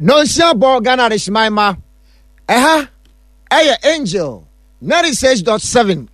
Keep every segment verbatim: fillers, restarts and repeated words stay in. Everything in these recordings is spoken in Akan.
Nonsia bɔ Ghana Adehyeman ma. Ɛha ɛyɛ Angel ninety-six point seven.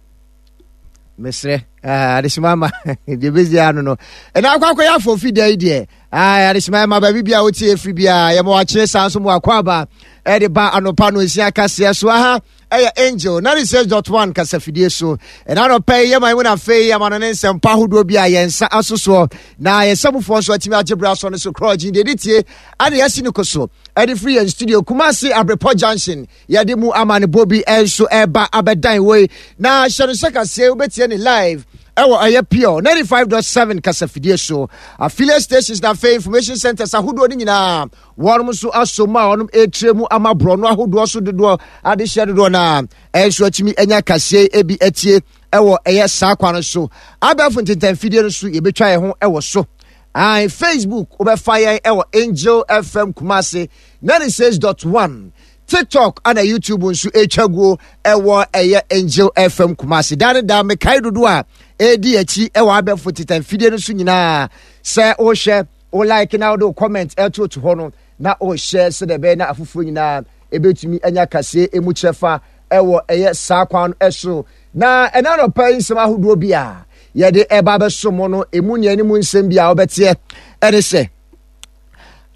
Mesrɛ adehyeman ma deɛ bɛsi ano no ɛna akɔ akɔyɛ afɔfi da yi deɛ, adehyeman ma baabi bia wotie ɛfiri biaa, yɛma wakyerɛ saa nso mu akɔ aba ɛde ba anɔpa no nsia kaseɛ so. Aha ɛyɛ Angel ninety-six point one kasafidie so. Ɛna anɔpa yi yɛma mu no afei ama no ne nsɛmpa ahodoɔ bi a yɛn nsa aso soɔ na yɛn mufoɔ nso atumi agye berɛ asɔ no so korɔgye deɛ ɛde tie ane yɛasi no ko so ɛde firi yɛn studio Kumase Abrepɔ Junction. Yɛde mu amanebɔ bi nso ɛba abɛdan wei na hyɛ no sɛ kaseɛ wobɛtie ne live ɛwɔ ɛyɛ Pure ninety-five point seven kasafidie so, affiliate stations na afei information centers ahodoɔ no nyinaa wɔnom nso aso mu a wɔnom ɛretire mu ama borɔno ahodoɔ so dodoɔ adehyɛ dodoɔ no a ɛnso atumi anya kaseɛ ebi atie ɛwɔ ɛyɛ saa kwan no so. Abɛɛfo ntentanfidie no so yɛbɛtwa yɛn ho ɛwɔ so. Ae, Facebook wobɛfa yɛn ɛwɔ Angel F M Kumase ninety-six point one, TikTok ana YouTube nso ɛtwa guo ɛwɔ ɛyɛ Angel F M Kumase. Daa ne daa mekae dodoɔ a ɛredi akyi ɛwɔ abɛɛfo ntentanfidie no so nyinaa sɛ wohwɛ, wo like na wode wo comment ɛtoto hɔ no na wohyɛ sɛdeɛ ɛbɛyɛ na afoforɔ nyinaa ɛbɛtumi anya kaseɛ emu kyerɛfa ɛwɔ ɛyɛ saa kwan no ɛso. Na ɛna nɔpa yi nsɛm ahodoɔ bi a yɛde ɛba abɛso mo no, emu nea anim nsɛm bi a wobɛteɛ ɛne sɛ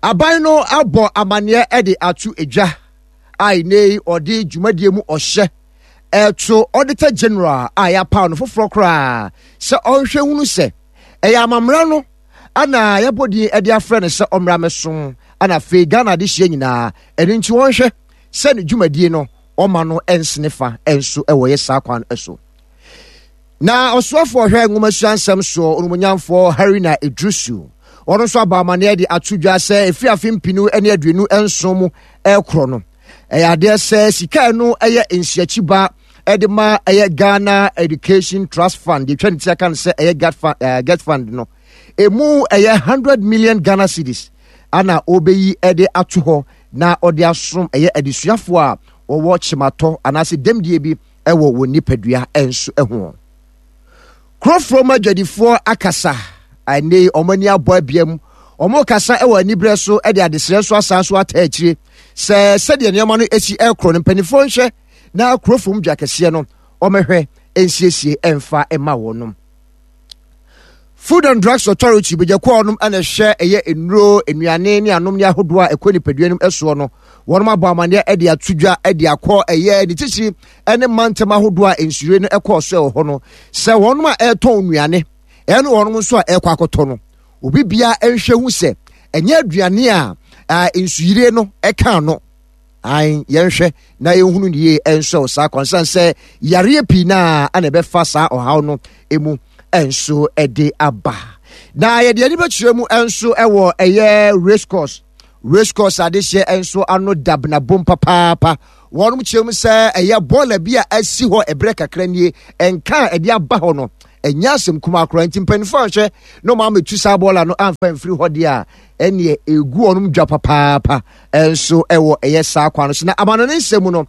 aban no abɔ amanneɛ ɛde ato edwa a ɛnɛ yi ɔde dwumadie mu ɔhyɛ ɛto Auditor General a yɛapaw no foforɔ koraa sɛ ɔnhwɛ hunu sɛ ɛyɛ amammerɛ no ana yɛbɔ din ɛde afrɛ no sɛ ɔmmra mɛsom ana afei Ghana adehyia nyinaa. Ɛno nti wɔnhwɛ sɛ ne dwumadie no ɔma no ɛnsene fa ɛnso ɛwɔ yɛ saa kwan so. Na ɔsoafoɔ hwɛ nwomasua nsɛm soɔ, onumonyamfoɔ Haruna Iddrisu, ɔno nso aba amanneɛ de ato dwa sɛ ɛfiri afe mpinu ne aduonu nson mu ɛrekorɔ no, ɛyɛ adeɛ sɛ sika ɛno ɛyɛ nsiakyiba ɛde ma ɛyɛ Ghana Education Trust Fund, deɛ twa ne ti aka no sɛ ɛyɛ GET Fund, uh, GET Fund no emu ɛyɛ hundred million Ghana cedis ana ɔbɛyi ɛde ato hɔ na ɔde asom ɛyɛ adesuafoɔ a wɔwɔ kyematɔ anaasɛ dɛmdie bi ɛwɔ wɔn nipadua nso ho. Kurɔfoɔ mu adwadifoɔ akasa ɛnɛ, wɔn ani abɔ abiam, wɔn kasa ɛwɔ aniberɛ so ɛde adesrɛ nso asan so ata akyire sɛ sɛdeɛ nneɛma no esi ɛkorɔ no, mpanimfoɔ nhwɛ na kurɔfoɔ mu dwa kɛseɛ no wɔmɛhwɛ nsiesie ɛmfa ɛma wɔn. Food and Drugs Authority bɛgyakuo nom ɛna ɛhwɛ ɛyɛ nnuro, nnuane ne anom ne ahodoɔ a ɛkɔ nipadua no soɔ no, wɔn abɔ amanneɛ ɛde ato dwa ɛde akɔ ɛyɛ ne titiri ɛne mantam ahodoɔ a nsure no ɛkɔɔ so ɛwɔ hɔ no sɛ wɔn a ɛretɔn nnuane ɛne wɔn nso a ɛrekɔ akɔtɔ no, obi bia nhwɛ hu sɛ ɛnyɛ aduane a nsuyire no ɛka no. Ae, yɛnhwɛ na yɛnhunu ne yie nso saa kwansan sɛ yareɛ pii naa ana ɛbɛfa saa ɔhaw no emu nso ɛde aba. Na yɛde ani bɛkyerɛ mu nso ɛwɔ ɛyɛ Race Course. Race Course adehyeɛ nso ano dabenabom papaapa. Wɔn kyerɛ mu sɛ ɛyɛ bɔɔla bi a asi hɔ ɛberɛ kakra nie, nka a ɛde aba hɔ no ɛnyɛ asɛm kumaa koraa, nti mpanimfoɔ ahwɛ na wɔn amɛtu saa bɔɔla no amfa mfiri hɔ deɛ a ɛneɛ egu wɔn dwa papaapa nso ɛwɔ ɛyɛ saa kwan no so. Na amano ne nsɛm mu no,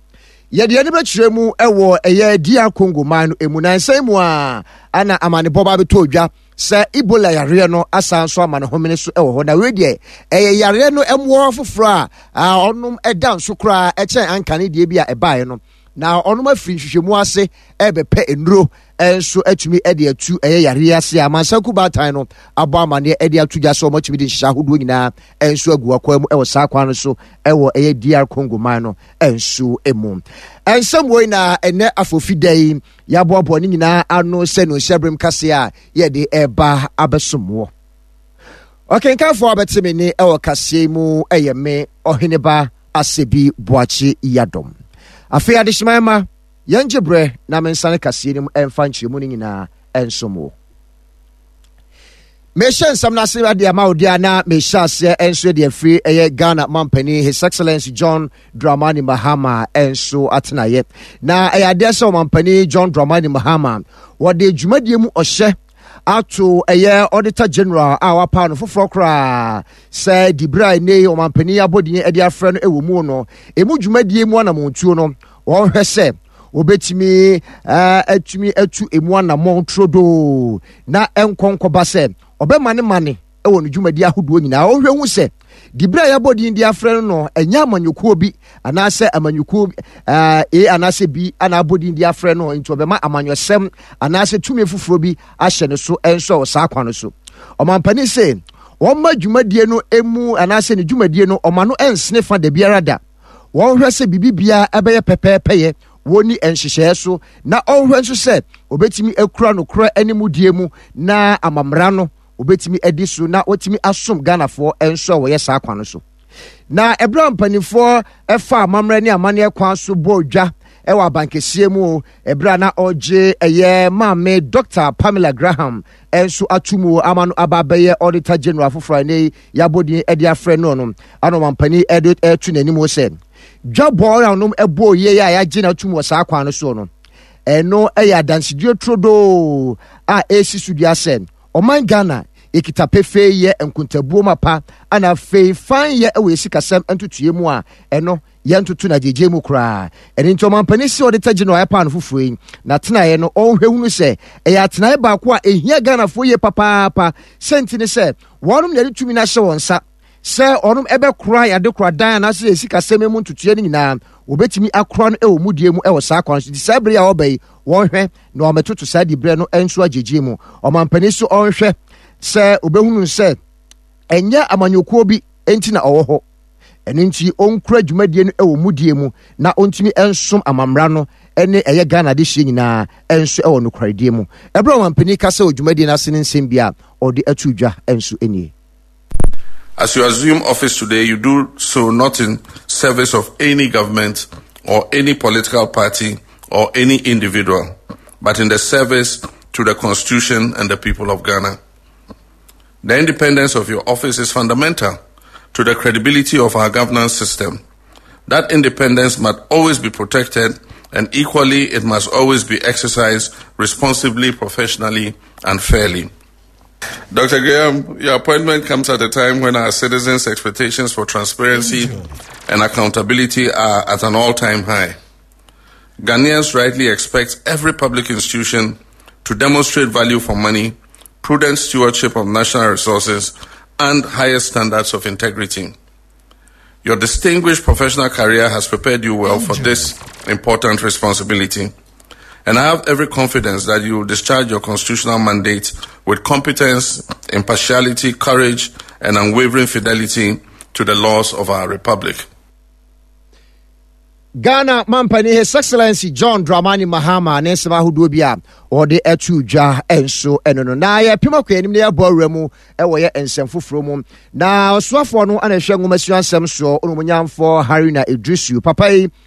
yɛde ani bɛkyerɛ mu ɛwɔ ɛyɛ D R Congo man no emu na nsɛn mu a ana amanebɔ ba bɛtɔ dwa sɛ Ebola yareɛ no asan so ama ne homene so ɛwɔ hɔ. Na wei deɛ ɛyɛ yareɛ no mmoa foforɔ a ɔnom ɛda nso koraa ɛkyɛn ankane deɛ bi a ɛbaeɛ no, na ɔnom afiri nhwehwɛmu ase ɛbɛpɛ nnuro nso atumi de atu ɛyɛ yareɛ ase a amansanku baatan no abɔ amanneɛ de ato dwa sɛ wɔatumi de nhyehyɛ ahodoɔ nyinaa nso agu akwan mu ɛwɔ saa kwan no so ɛwɔ ɛyɛ D R Congo man no nso mu. Nsɛm wei na ɛnɛ afofi da yi yɛaboaboa ne nyinaa ano sɛ no nhyɛberem kase a yɛde ɛba abɛsom wɔ. Ɔkenkanfoɔ a bɛte me ne ɛwɔ kaseɛ mu ɛyɛ me Ɔheneba Asɛbi Boakye Yadom. Afei adehyeman ma yɛngye berɛ na mensane kaseɛ no mu ɛmfa nkyerɛmu no nyinaa ɛnsom wo. Mehyɛ nsɛm no ase de ama wo deɛ a, na mehyɛ aseɛ nso de afiri ɛyɛ Ghana mampanin, His Excellency John Dramani Mahama nso atenaeɛ. Na ɛyɛ adeɛ sɛ ɔmampanin John Dramani Mahama wɔde dwumadie mu ɔhyɛ ato ɛyɛ Auditor General a wapa no foforɔ koraa sɛ dibere a ɛnɛ yi ɔmampanin abɔdin de afrɛ no ɛwɔ mu no, ɛmu dwumadie mu anammɔntuo no, wɔnhwɛ sɛ wɔbɛtumi atumi atu emu anammɔn turodoo na ɛnkɔ nkɔba sɛ ɔbɛma ne mane ɛwɔ ne dwumadi ahodoɔ nyinaa. Ɔhwɛ hu sɛ Diberɛ a yɛabɔ din de afrɛ no no, ɛnyɛ amanyɔkuo bi anaasɛ amanyɔkuo A anaasɛ B ana abɔ din de afrɛ no, nti ɔbɛma amanyɔsɛm anaasɛ tumi foforɔ bi ahyɛ ne so nso wɔ saa kwan no so. Ɔmampanin sɛ wɔmma dwumadie no mu anaasɛ ne dwumadie no ɔma no nsene fa da biara da. Wɔnhwɛ sɛ biribi biara ɛbɛyɛ pɛpɛɛpɛyɛ, wɔnni nhyehyɛeɛ so, na ɔnhwɛ nso sɛ obɛtumi akura nokorɛ ne mudie mu na amammerɛ no obɛtumi adi so na wɔtumi asom Ghanafoɔ nso a wɔyɛ saa kwan no so. Na ɛberɛ a mpanimfoɔ ɛfa amammerɛ ne amanneɛ kwan so bɔɔ dwa ɛwɔ abankɛseɛ mu, ɛberɛ a na ɔgye ɛyɛ maame Doctor Pamela Graham nso ato mu ama no aba abɛyɛ Auditor General foforɔ a ne yɛabɔ din de afrɛ no no ana ɔmampanin ɛde ɛto n'anim sɛ dwabɔ a ɔnom ɛbɔ yie a yɛagye no atum wɔ saa kwan no soɔ no, ɛno ɛyɛ adansedie turodoo a ɛsi so dua sɛ ɔman Ghana yɛkita pefee yɛ nkontabuo mapa ana afei fan yɛ ɛwɔ yɛsikasɛm ntotoeɛ mu a ɛno yɛntoto no agyegye mu koraa. Ɛno nti ɔmampanin si Auditor General ɛpaa no foforɔ yi na tenaeɛ no, ɔnhwɛ hunu sɛ ɛyɛ atenaeɛ baako a ɛhia Ghanafoɔ yie papaapa. Sɛnti ne sɛ wɔnom na yɛde tumi no ahyɛ wɔn nsa sɛ ɔnom ɛbɛkora yɛade kora dan anaasɛ yɛ sikasɛm mu ntotoeɛ no nyinaa, wɔbɛtumi akora no ɛwɔ mudie mu ɛwɔ saa kwan so. Nti saa bere a ɔba yi, wɔnhwɛ na wɔamɛtoto saa diberɛ no nso agyegye mu. Ɔmampanin so ɔnhwɛ sɛ obɛhunu sɛ ɛnyɛ amanyɔkuo bi nti na ɔwɔ hɔ, ɛno nti ɔnkura dwumadie no ɛwɔ mudie mu na ɔntumi nsom amammra no ɛne ɛyɛ Ghana de hyɛ nyinaa ɛnso ɛwɔ nokwaredie mu. Ɛberɛ a ɔmampanin kasa wɔ dwumadie no ase ne nsɛm bi a ɔde ato dwa nso nie. As you assume office today, you do so not in service of any government or any political party or any individual, but in the service to the Constitution and the people of Ghana. The independence of your office is fundamental to the credibility of our governance system. That independence must always be protected, and equally, it must always be exercised responsibly, professionally, and fairly. Doctor Graham, your appointment comes at a time when our citizens' expectations for transparency and accountability are at an all time high. Ghanaians rightly expect every public institution to demonstrate value for money, prudent stewardship of national resources, and highest standards of integrity. Your distinguished professional career has prepared you well for this important responsibility. And I have every confidence that you will discharge your constitutional mandate with competence, impartiality, courage, and unwavering fidelity to the laws of our republic. Ghana mampani, His Excellency John Dramani Mahama, ne nsɛm ahodoɔ bi a ɔde ato dwa nso ɛno no. Na yɛpem akɔ anim na yɛabɔ awura mu ɛwɔ yɛ nsɛm foforɔ mu, na ɔsoafoɔ no ana ɛhwɛ nwomasua nsɛm soɔ, ɔnomonyamfoɔ Haruna Idrisu papa yi.